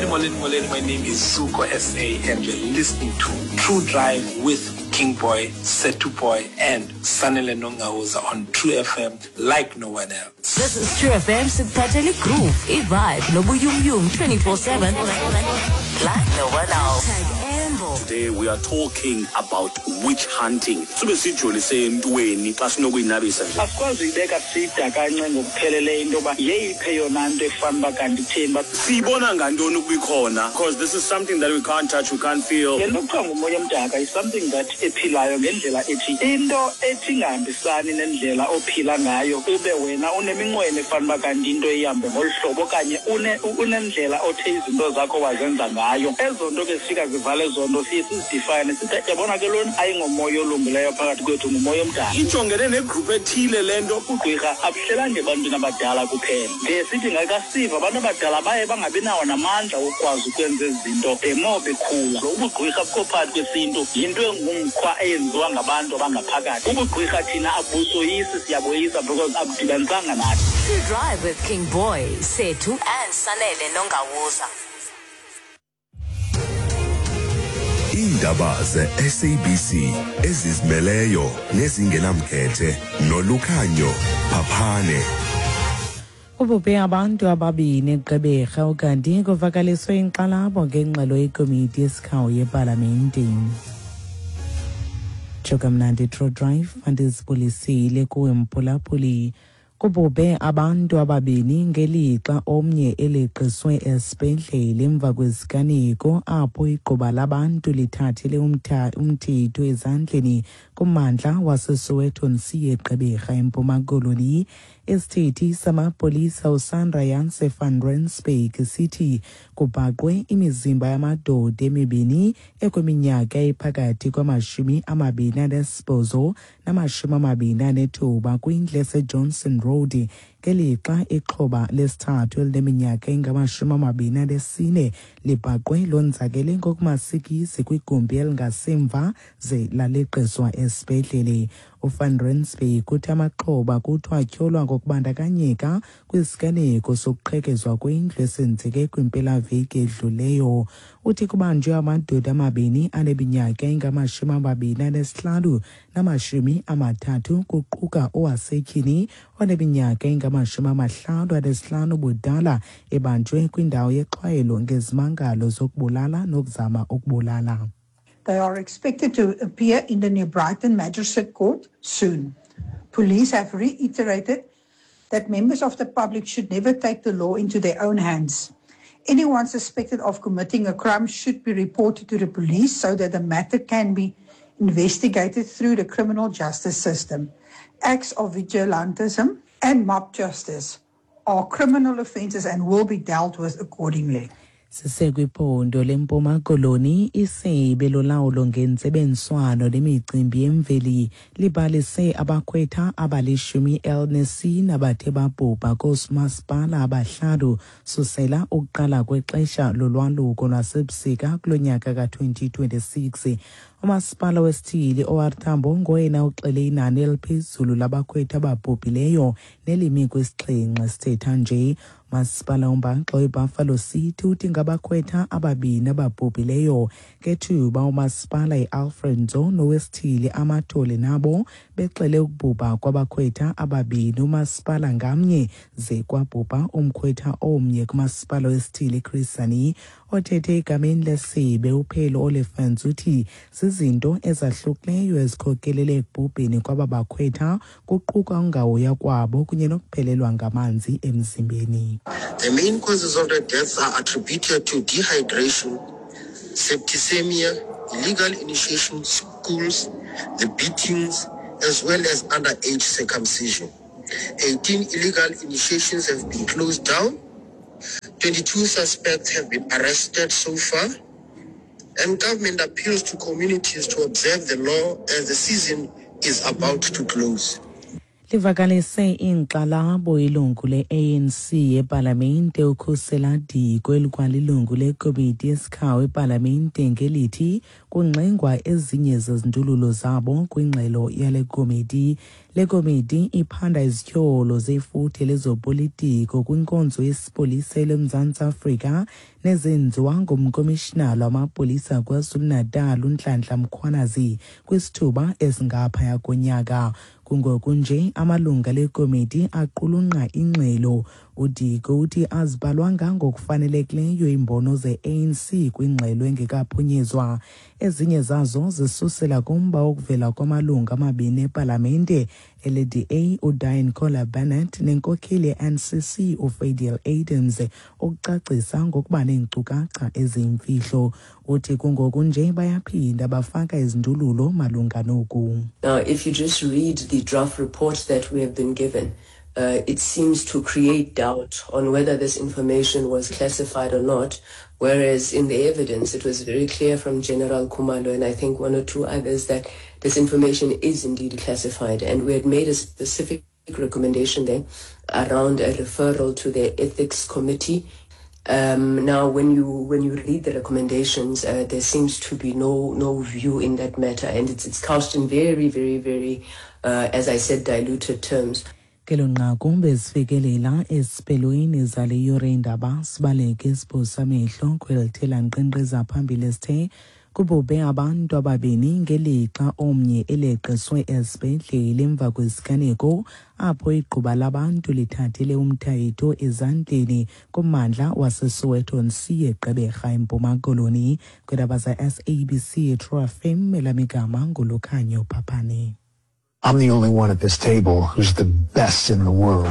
Molweni, molweni, molweni. My name is Suko SA and you're listening to True Drive with King Boy, Setu Boy and Sanele Nongauza on True FM like no one else. This is True FM sikuphathela igroove, ivibe nobuyumyum 24/7 like no one else. Today we are talking about witch hunting. Sube sijolise entweni xa sinokuyinabisa nje. Asikwazi uyibeka sida kancinci ngokupheleleyo into yoba yeyiphi eyona nto efana uba kanti itheni uba Siyibona ngantoni ukuba ikhona? Because this is something that we can't touch, we can't feel. Le nto kuthiwa ngumoya omdaka is something that ephilayo ngendlela ethi into ethi ingahambisani nendlela ophila ngayo ube wena uneminqweno efana uba kanti into ihambe ngolu hlobo okanye unendlela othe izinto zakho wazenza ngayo. Ezo nto ke zifika zivale ezo nto siye sizidifayine sithi yabona ke lona ayingomoya olungileyo phakathi kwethu ngumoya omdaka. Ijongene negroup ethile le nto. Ubugqwirha abuhlelanga ebantwini abadala kuphela. Ndiye sithi ngakasiva abantu abadala baye bangabi nawo namandla wokukwazi ukwenza ezi zinto the more bekhula. Lo ubugqwirha bukho phakathi kwesintu yinto engumkhwa eyenziwa ngabantu abangaphakathi. Ubugqwirha thina abusoyisi siyaboyisa because abudibanisanga nathi. True Drive with King Boy, Sethu and Sanele Nongawuza. Iindaba ze-SABC ezizimeleyo nezingenamkhethe nolukhanyo Phaphane. Kubhubhe abantu ababini eGqeberha ukanti kuvakaliswe inkxalabo ngengxelo yekomiti yesikhawu yepalamente. Tsho kamnandi True Drive andizibulisile kuwe mphulaphuli. Kubhubhe abantu ababini ngelixa omnye eleqiswe esibhedlele emva kweziganeko apho igquba labantu lithathele umthetho ezandleni kummandla waseSoweto nsiye Gqeberha eMpuma Koloni. Isithethi samapolisa uSandra Janse van Rensburg sithi kubhaqwe imizimba yamadoda emibini ekwiminyaka ephakathi kwamashumi amabini anesibhozo namashumi amabini anethoba kwindlu eseJohnson Road ngelixa ixhoba lesithathu elineminyaka engamashumi amabini anesine libhaqwe lonzakele ngokumasikizi kwigumbi elingasemva ze laleqiswa esibhedlele. UVan Rensburg uthi amaxhoba kuthiwa atyholwa ngokubandakanyeka kwisiganeko sokuqhekezwa kwendlu esenzeke kwimpelaveki edluleyo. Uthi kubanjwe amadoda amabini aneminyaka engamashumi amabini anesihlanu namashumi amathathu kuquka owasetyhini oneminyaka engamashumi amahlanu anesihlanu ubudala ebanjwe kwindawo yexhwayelo ngezimangalo zokubulala nokuzama ukubulala. They are expected to appear in the New Brighton Magistrate Court soon. Police have reiterated that members of the public should never take the law into their own hands. Anyone suspected of committing a crime should be reported to the police so that the matter can be investigated through the criminal justice system. Acts of vigilantism and mob justice are criminal offences and will be dealt with accordingly. Sisekwiphondo leMpuma Koloni, isebe lolawulo ngentsebenziswano lemicimbi yemveli libalise abakhwetha abalishumi elinesine abathe babhubha koomasipala abahlanu susela ukuqala kwexesha lolwaluko lwasebusika kulo nyaka ka-2026. Umasipala wesithili OR Tambo ngoyena uxele inani eliphezulu labakhwetha ababhubhileyo nelimi kwisixhenxe sithetha nje. Masipala umbaxa weBuffalo City uthi ngabakhwetha ababini ababhubhileyo ngethuba umasipala iAlfred Nzo nowesithili Amathole nabo bexele ukubhubha kwabakhwetha ababini umasipala ngamnye ze kwabhubha umkhwetha omnye kumasipala wesithili Chris Hani. Othethe egameni lesebe uPhelo Olifants uthi zizinto ezahlukileyo ezikhokelele ekubhubheni kwaba bakhwetha kuquka ungahoywa kwabo kunye nokuphelelwa ngamanzi emzimbeni. The main causes of the deaths are attributed to dehydration, septicemia, illegal initiation schools, the beatings, as well as underage circumcision. 18 illegal initiations have been closed down. 22 suspects have been arrested so far. And government appeals to communities to observe the law as the season is about to close. Livakalise iinkxalabo ilungu le-ANC epalamente uKhusela Diko, elikwalilungu lekomiti yesikhawu epalamente, ngelithi kungxengwa ezinye zezindululo zabo kwingxelo yale komiti. Le komiti iphanda izityholo zefuthe lezopolitiko kwinkonzo yesipolisa leMzantsi Afrika nezenziwa ngumkomishinala wamapolisa KwaZulu-Natal uNhlanhla Mkhwanazi kwisithuba esingaphaya konyaka. Kungoku nje amalungu ale komiti aqulunqa ingxelo. UDiko uthi azibhalwanga ngokufanelekileyo iimbono ze-ANC kwingxelo engekaphunyezwa. Ezinye zazo zisusela kumba wokuvela kwamalungu amabini epalamente ele-DA uDiane Kohler Barnett nenkokheli ye-NCC uFadiel Adams ukucacisa ngokuba neenkcukacha eziyimfihlo. Uthi kungoku nje bayaphinda bafaka izindululo malunga noku. Now, if you just read the draft report that we have been given, it seems to create doubt on whether this information was classified or not, whereas in the evidence it was very clear from General Khumalo and I think one or two others that this information is indeed classified. And we had made a specific recommendation there around a referral to the ethics committee. Now, when you read the recommendations, there seems to be no view in that matter, and it's couched in very, very, very, as I said, diluted terms. Kelo nqaku bezifikelela esiphelweni zale yure indaba. Sibaleke siphosa amehlo kwelithela nkqenkqeza phambili esithe kubhubhe abantu ababini ngelixa omnye eleqiswe esibhedlele emva kwesiganeko apho igquba labantu lithathele umthetho ezandleni kummandla waseSoweto C eGqeberha, eMpuma Koloni. Kwiindaba za-SABC True FM, elamigama nguLukhanyo Phaphane. I'm the only one at this table who's the best in the world.